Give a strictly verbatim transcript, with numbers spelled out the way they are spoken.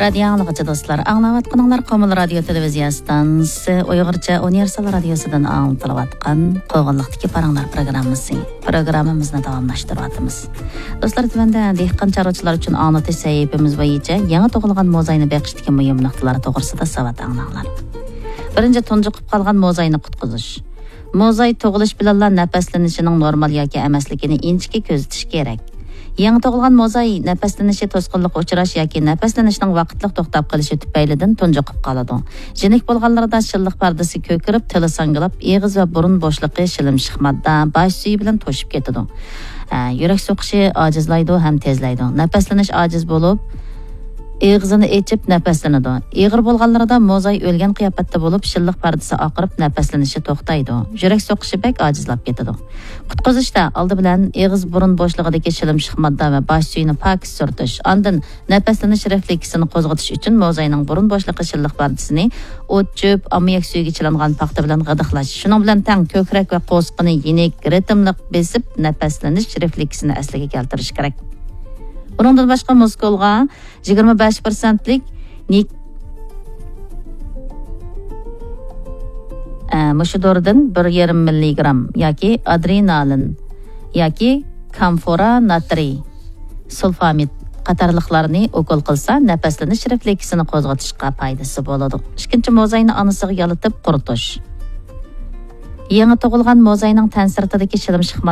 رادىيو ئاڭلىغۇچى دوستلار، ئاڭلاۋاتقىنىڭلار قومۇل رادىيو تېلېۋىزىيە ئىستانسىسى ئۇيغۇرچە ئۇنىۋېرسال رادىيوسىدىن ئاڭلىتىلىۋاتقان قوغۇنلۇقتىكى پاراڭلار پروگراممىسى. پروگراممىمىزنى داۋاملاشتۇرۇۋاتىمىز. دوستلار، تۆۋەندە دېھقان چارۋىچىلار ئۈچۈن ئاڭلىتىش سەھىپىمىز بويىچە يېڭى تۇغۇلغان موزاينى بېقىشتىكى مۇھىم نۇقتىلار توغرىسىدا ساۋات ئاڭلاڭلار. بىرىنچى، تۇنجۇقۇپ قالغان موزاينى قۇتقۇزۇش. موزاي تۇغۇلۇش بىلەنلا نەپەسلىنىشىنىڭ نورمال ياكى ئەمەسلىكىنى ئىنچىكە كۆزىتىش كېرەك. يېڭى تۇغۇلغان موزاي نەپەسلىنىشى توسقۇنلۇققا ئۇچراش ياكى نەپەسلىنىشنىڭ ۋاقىتلىق توختاپ قېلىشى تۈپەيلىدىن تۇنجۇقۇپ قالىدۇ. يېنىك بولغانلىرىدا شىللىق پەردىسى كۆكىرىپ، تىلى ساڭگىلاپ، ئېغىز ۋە بۇرۇن بوشلۇقى شىلىمشىق ماددا، باش سۈيى بىلەن توشۇپ كېتىدۇ. ئە، يۈرەك سوقۇشى ئاجىزلايدۇ ھەم تېزلەيدۇ. نەپەسلىنىش ئاجىز بولۇپ، ئېغىزىنى ئېچىپ نەپەسلىنىدۇ. ئېغىر بولغانلىرىدا موزاي ئۆلگەن قىياپەتتە بولۇپ، شىللىق پەردىسى ئاقىرىپ، نەپەسلىنىشى توختايدۇ. يۈرەك سوقۇشى بەك ئاجىزلاپ كېتىدۇ. قۇتقۇزۇشتا ئالدى بىلەن ئېغىز بۇرۇن بوشلۇقىدىكى شىلىمشىق ماددا ۋە باش سۈيىنى پاكىز سۈرتۈش، ئاندىن نەپەسلىنىش رېفلېكسىنى قوزغىتىش ئۈچۈن موزاينىڭ بۇرۇن بوشلۇقى شىللىق پەردىسىنى ئوت، چۆپ، ئاممىياك سۈيىگە چىلانغان پاختا بىلەن غىدىقلاش، شۇنىڭ بىلەن تەڭ كۆكرەك ۋە قورسىقىنى يېنىك، رىتىملىق بېسىپ، نەپەسلىنىش رېفلېكسىنى ئەسلىگە كەلتۈرۈش كېرەك. بۇنىڭدىن باشقا، مۇسكۇلغا يىگىرمە بەش پىرسەنتلىك نىك-، ئە، مۇشۇ دورىدىن بىر يېرىم مىللىگرام ياكى ئادرېنالىن ياكى كامفورا ناترىي سۇلفامىد قاتارلىقلارنى ئوكۇل قىلسا، نەپەسلىنىش رېفلېكسىنى قوزغىتىشقا پايدىسى بولىدۇ. ئىككىنچى، موزاينى ئانىسىغا يالىتىپ قۇرۇتۇش. يېڭى تۇغۇلغان موزاينىڭ تەن سىرتىدىكى شىلىمشىق